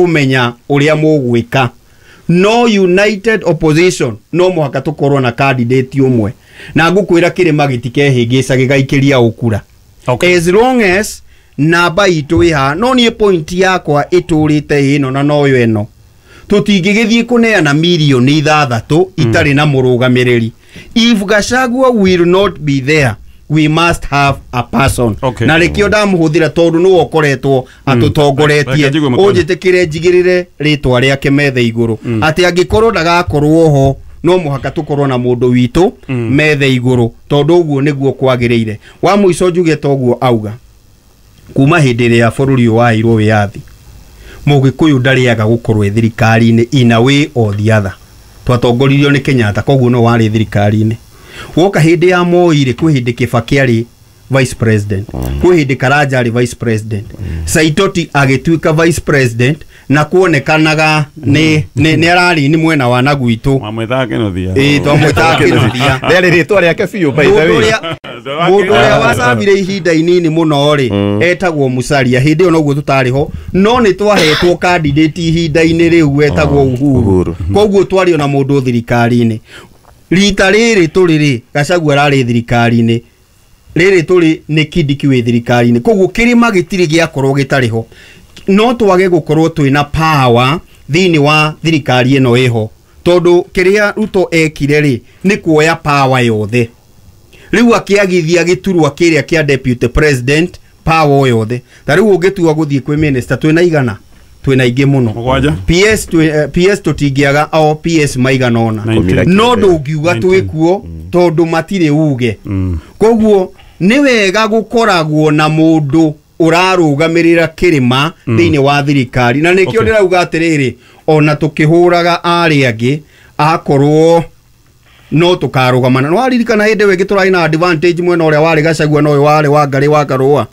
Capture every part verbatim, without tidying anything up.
Kũmenya ũrĩa mũgwĩka, no united opposition no mũhaka tũkorwo na candidate ũmwe, na ngũkwĩra kĩrĩma gĩtikehĩngĩca gĩgaikĩria ũkura Okay. as long as namba itũ ĩ haha. No niĩ point yakwa ĩtũrĩte ĩno na noyo ĩno, tũtingĩgĩthiĩ kũneana mirioni ithathatũ itarĩ na mũrũgamĩrĩri. If Gachagua will not be there, we must have a person. Okay. Na rĩkĩo ndamũhũthĩra tondũ nĩwe ũkoretwo atũtongoretie. Reke njigue Mũtonyi. Ũnjĩtĩkĩre njigĩrĩre rĩtwa rĩake metha igũrũ atĩ angĩkorwo ndagakorwo ho, no mũhaka tũkorwo na mũndũ witũ metha igũrũ, tondũ ũguo nĩguo kwagĩrĩire. Wa mũico njuge toguo auga, kuma hĩndĩ ĩrĩa bũrũri ũyũ waheirwo wĩyathi, Mũgĩkũyũ ndarĩaga gũkorwo ĩ thirikari-inĩ in a way or the other. Twatongoririo nĩ Kenyatta, koguo no warĩ thirikari-inĩ. Woka hĩndĩ ya Moi rĩ, kwĩ hĩndĩ Kibaki arĩ vice president, kwĩ hĩndĩ Karanja arĩ vice president, Saitoti agĩtuĩka vice president na kuonekanaga nĩ nĩ nĩ ararĩ nĩ mwena wa na gwitũ. Mwamwĩtaga Kĩnuthia. Ĩĩ, twamwĩtaga Kĩnuthia. Rĩarĩ rĩtwa rĩake biũ, by the Mũndũ way. ũrĩa mũndũ ũrĩa wacamire ihinda inini mũno rĩ, etagwo Musalia. Hĩndĩ ĩyo noguo tũtarĩ ho, no nĩ twahetwo candidate ihinda-inĩ rĩu wetagwo Uhuru. Uhuru. Koguo twarĩ ona mũndũ thirikari-inĩ. Rita rĩrĩ tũrĩ rĩ, Gachagua ararĩ thirikari-inĩ, rĩrĩ tũrĩ nĩ Kindiki wĩ thirikari-inĩ, koguo kĩrĩma gĩtirĩ gĩakorwo gĩtarĩ ho. No twage gũkorwo twĩna power thĩinĩ wa thirikari ĩno ĩho, tondũ kĩrĩa Ruto ekire rĩ, nĩ kuoya power yothe. Rĩu akĩagithia gĩturwa kĩrĩa kĩa deputy president power yothe. Ta rĩu ũngĩtua gũthiĩ kwĩ minister, twĩna igana, twĩna aingĩ mũno. Mũgwanja. P S twĩ, eh, P S tũtingĩaga o P S maigana ũna. Nineteen. No ndũngiuga Nineteen. twĩkuo tondũ matirĩ uge. Koguo nĩ wega gũkoragwo na mũndũ ũrarũgamĩrĩra kĩrĩma thĩinĩ wa thirikari, na nĩkĩo Okay. ndĩrauga atĩrĩrĩ, ona tũkĩhũraga arĩa angĩ, akorwo no tũkarũgamana. No waririkana hĩndĩ ĩyo ĩngĩ tũrarĩ na advantage mwena ũrĩa warĩ Gachagua na ũyũ warĩ wa Ngarĩ wa Karũa.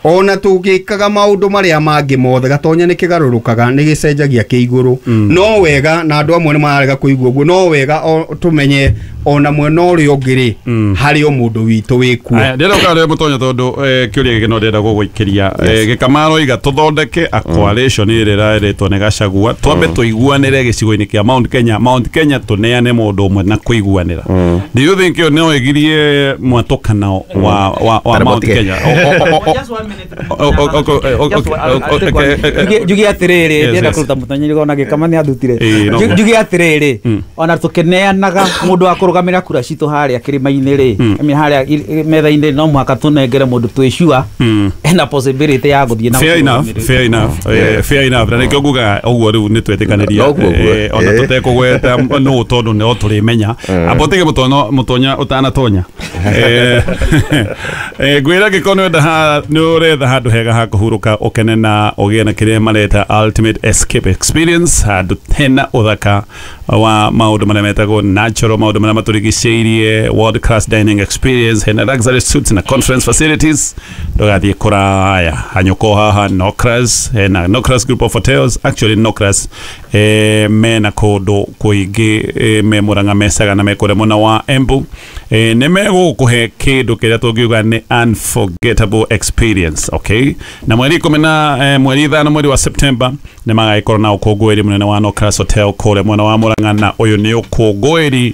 Ona tũgĩkaga maũndũ marĩa mangĩ mothe, Gatonya nĩ kĩgarũrũkaga, nĩ gĩcenjagia kĩ igũrũ. No wega, na andũ amwe nĩ mararega kũigua ũguo, no wega o tũmenye ona mwena ũrĩa ũngĩ rĩ, harĩ o mũndũ witũ wĩkuo. Aya, ndĩrenda gũka rĩ Mũtonya, tondũ eh, kĩũria gĩkĩ no ndĩrenda gũgũikĩria. Eh, gĩkama aroiga tũthondeke a coalition ĩrĩa ĩrarĩtwo nĩ Gachagua, twambe tũiguanĩre gĩcigo-inĩ kĩa Mount Kenya, Mount Kenya tũneane mũndũ ũmwe na kũiguanĩra. Do you think ĩyo no ĩgirie mwatũkano wa wa wa Kana Mount mũtige. Kenya? O- o- o- o- Just one minute. O- o- o- o- Just one- o- o- I'll take one. okay, eh, eh, Njuge- njuge atĩrĩrĩ, Yes, ndĩrenda yes. kũruta Mũtonyi ona gĩkama nĩ athutire. Ĩĩ, no. Nju- njuge atĩrĩrĩ, ona tũkĩneanaga mũndũ wa kũrũgamĩrĩra kura citũ harĩa kĩrĩma-inĩ rĩ, I mean, harĩa i- metha-inĩ, no mũhaka tũnengere mũndũ twĩ sure ena possibility ya gũthiĩ na Fair enough. gũtũrũgamĩrĩra. Fair enough, eh, fair enough, na nĩkĩo nguga ũguo. Rĩu nĩ twetĩkanĩria. No ũguo ũguo. Eh, ona Eh. tũtekũgweta nũ tondũ no tũrĩmenya. Amba ũtige mũtono Mũtonya ũtanatonya. Eh, eh, ngwĩra ngĩkorwo nĩ ũrenda nĩ ũretha handũ hega ha kũhurũka, ũkene na ũgĩe na kĩrĩa mareta ultimate escape experience, handũ hena ũthaka wa maũndũ marĩa metagwo natural, maũndũ marĩa matũrigicĩirie, world class dining experience, hena luxury suites na conference facilities, ndũgathiĩ kũraya, hanyũka haha Nocras. Hena Nocras Group of Hotels. Actually, Nocras eh, mena kũndũ kũingĩ, eh, me Murang'a, mecaga na me kũrĩa mwena wa Embu. eh, nĩ megũkũhe kĩndũ kĩrĩa tũngiuga nĩ unforgettable experience. Okay, na mweri ikũmi na eh, mweri ithano mweri wa September nĩ magagĩkorwo na ũkũngũĩri mũnene wa Nocras Hotel kũrĩa mwena wa Murang'a, na ũyũ nĩ ũkũngũĩri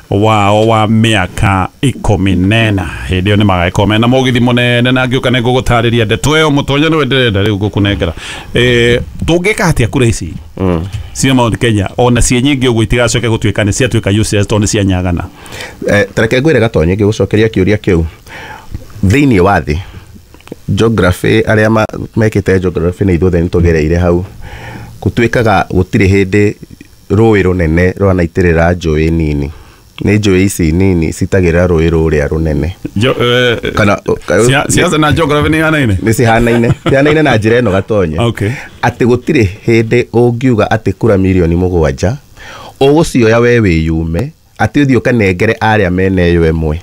wao wa mĩaka ikũmi nena. Hĩndĩ ĩyo nĩ magagĩkorwo mena mũgithi mũnene, na ngĩũka nĩ ngũgũtarĩria ndeto ĩyo. Mũtonya, nĩwe ndĩrenda rĩu ngũkũnengera. Eh, tũngĩka atĩa kura ici cia Mount Kenya ona ciĩ nyingĩ ũguo itigacoke gũtuĩka nĩ ciatuĩka useless tondũ nĩ cianyagana? Eh, tareke ngwĩre Gatonye, ngĩgũcokeria kĩũria kĩu, thĩinĩ wa thĩ geography, arĩa ma- mekĩte geography na ithuothe nĩ tũgereire hau, gũtuĩkaga gũtirĩ hĩndĩ rũĩ rũnene rwanaitĩrĩra njũĩ nini. Nĩ njũĩ ici nini citagĩrĩra rũĩ rũrĩa rũnene. Jo- eh, Kana- cia- siasa na geography nĩ ihanaine? Nĩ cihanaine, cihanaine na njĩra ĩno, Gatonye, Okay. atĩ gũtirĩ hĩndĩ ũngiuga atĩ kura mirioni mũgwanja ũgũcioya we wĩyume, atĩ ũthiĩ ũkanengere arĩa mena ĩyo ĩmwe,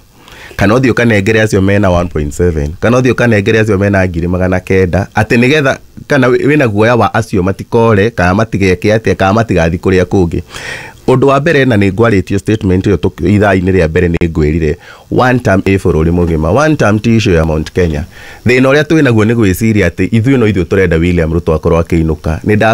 kana ũthiĩ ũkanengere acio mena one point seven, kana ũthiĩ ũkanengere acio mena ngiri magana kenda, atĩ nĩgetha kana wĩ- wĩna guoya wa acio matikore kana matigeke atĩa kana matigathiĩ kũrĩa kũngĩ. Ũndũ wa mbere, na nĩ ngwarĩtio statement ĩyo tũk- ithaa-inĩ rĩa mbere, nĩ ngwĩrire one term ĩ bũrũri mũgima, one term ti issue ya Mount Kenya. Thĩna ũrĩa twĩ naguo nĩ gwĩciria atĩ ithuĩ no ithuĩ tũrenda William Ruto akorwo akĩinũka. Nĩ nda